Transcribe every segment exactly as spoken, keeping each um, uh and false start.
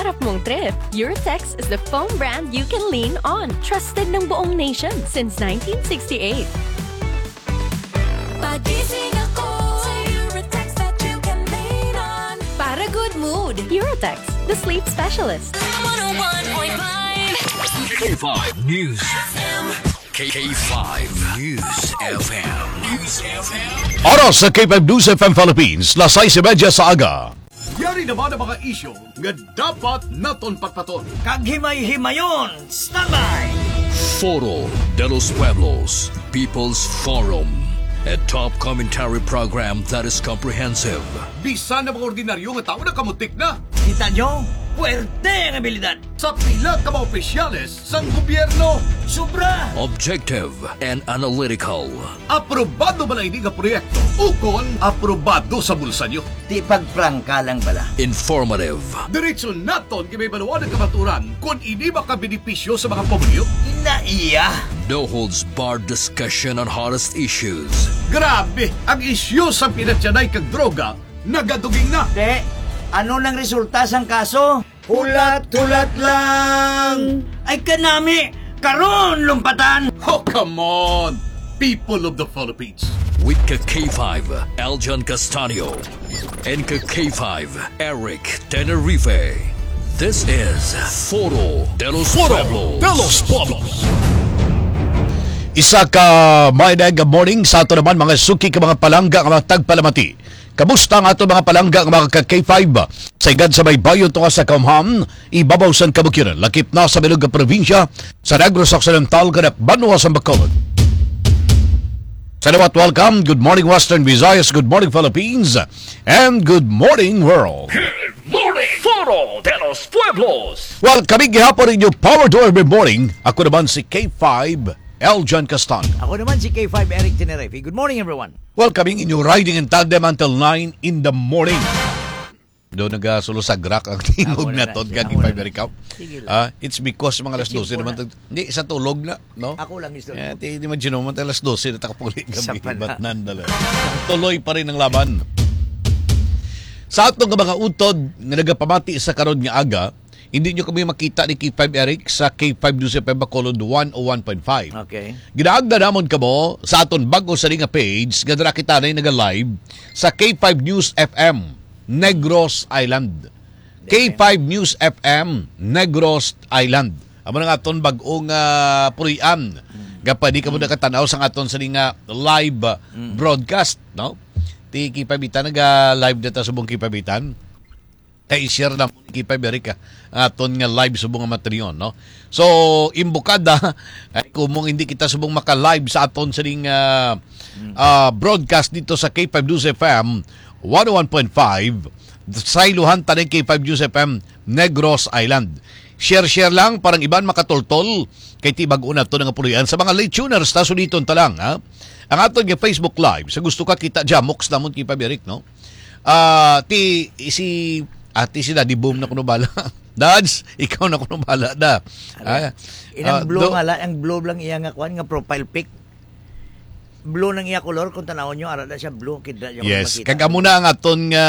Harap mong trip, Eurotex is the foam brand you can lean on. Trusted ng buong nation since nineteen sixty-eight. Pagising ako sa Eurotex that you can lean on. Para good mood, Eurotex, the sleep specialist. one oh one point five K five News. K K five News F M. News F M. Oras sa K five News F M Philippines, las sais y media sa aga. Yari naman ang mga isyu nga dapat naton patpaton. Kag himay-himayon, standby! Foro de los Pueblos, People's Forum, a top commentary program that is comprehensive. Bisan ang mga ordinaryo nga tawo nakamutik na. Kita nyo? Puwerte ang abilidad. Sa pila ka mga opisyales sang gobyerno. Sobra! Objective and analytical. Aprobado bala ini nga proyekto? Ukon aprobado sa bulsa nyo? Di pagprangka lang bala. Informative. Diretso naton gibabaluan ang kamaturan kon ini makabenepisyo sa mga pumuluyo. Naiya. No holds barred discussion on hottest issues. Grabe, ang isyu sa pinatyanay kag droga nagaduging na. Te, ano nang resulta sang kaso? Hulat-hulat lang. Ay kanami, karon lumpatan. Oh, come on, people of the Philippines. With ka K five, Aljan Castanio. And ka K five, Eric Tenerife. This is Foro de los Foro Pueblos. De los Pueblos. Isa ka maayong morning sa ato naman mga suki ka mga palangga nga mga tagpalamati. Kamusta ang ato mga palangga nga mga ka K five? Sa higad sa baybayon tunga sa kaumhan, ibabaw sang kabukidnon, lakip na sa bilog nga probinsya, sa Negros Occidental, kag banwa sa Bacolod. Salamat, welcome. Good morning, Western Visayas. Good morning, Philippines. And good morning, world. Good morning, Foro de los Pueblos. Well, kami gihapon ninyo, power to every morning. Ako naman si K five, Eljan Castaño. Ako naman si K five, Eric Tenerife. Good morning, everyone. Well, kami inyo riding in tandem until nine in the morning. Do nagasulo sa grak ang tingog Amo na na, naton amo kag na. Ipa-America. Sige lang. Ah, it's because mga alas Isip dose ko naman na. tag-, hindi, sa tulog na, no? Ako lang, mister. Eh, ti, di man, Gino, man, alas dose na takapuli Sa gabi, pala. Batnan na lang. Tuloy pa rin ang laban. Sa atong mga utod nga nagapamati sa karon nga aga, hindi nyo kami makita ni K five Eric sa K five News F M Bacolod one oh one point five. Okay. Ginaagda namon kamo sa aton bago sa nga page nga dira kita na nag-live sa K five News F M Negros Island. K five News F M Negros Island. Amo na nga aton bag-ong, ah, puloy-an. Mm. Nga pwede kamo Mm. nakatanaw sa aton sa nga live, ah, Mm. broadcast, no? Ti K five Itan, naga-live na ta subong K five Itan. Kay i-share na mo ni K five Eric, ah, ang aton nga live subong nga materion, no? So, imbukada, ay, kung mong hindi kita subong maka-live sa aton sining, ah, Mm. ah, broadcast dito sa K five News F M, one oh one point five, sayluhan ta ning K five News F M, Negros Island. Share, share lang, parang iban makatultol, kay ti bag-o na to nga puloy-an. Sa mga late tuners, ta suliton ta lang, ha? Ang aton nga Facebook Live, sa gusto ka kita, jamoks namon K five Eric, no? Ah, ti, si, ah, ti si Daddy Boom na kuno bala. Dads, ikaw na kuno bala, da. Ano? Ah, Inang ah, blue do- nga la, ang blue lang iya nga kuan nga profile pic. Blue nang iya color, kung tanawon nyo, ara na siya blue, kidra siya Yes, makita. Kag amo na ang aton nga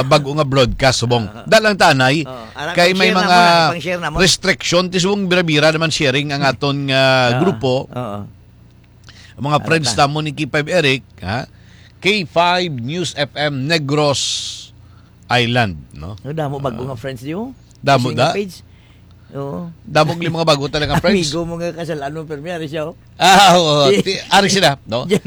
bag-o nga broadcast, subong. Ah. Da lang tanay, Oo. Ara, kay may pang-share na mga mo na, pang-share na mo. restriction, ti subong bira-bira naman sharing ang aton nga Oo. grupo. Oo. Ang mga Ano friends ta? Tamo ni K five Eric, ha? K five News F M Negros Island, no? No, damo bago Ah. nga friends niyo. Damo Kasi nga da? page. Oo. Damo nga mga bago talaga friends. Amigo mo nga kasal-anon, pero may ari siya, oh. Ah, oo. Si Ti-, ari sila, no? Jan-,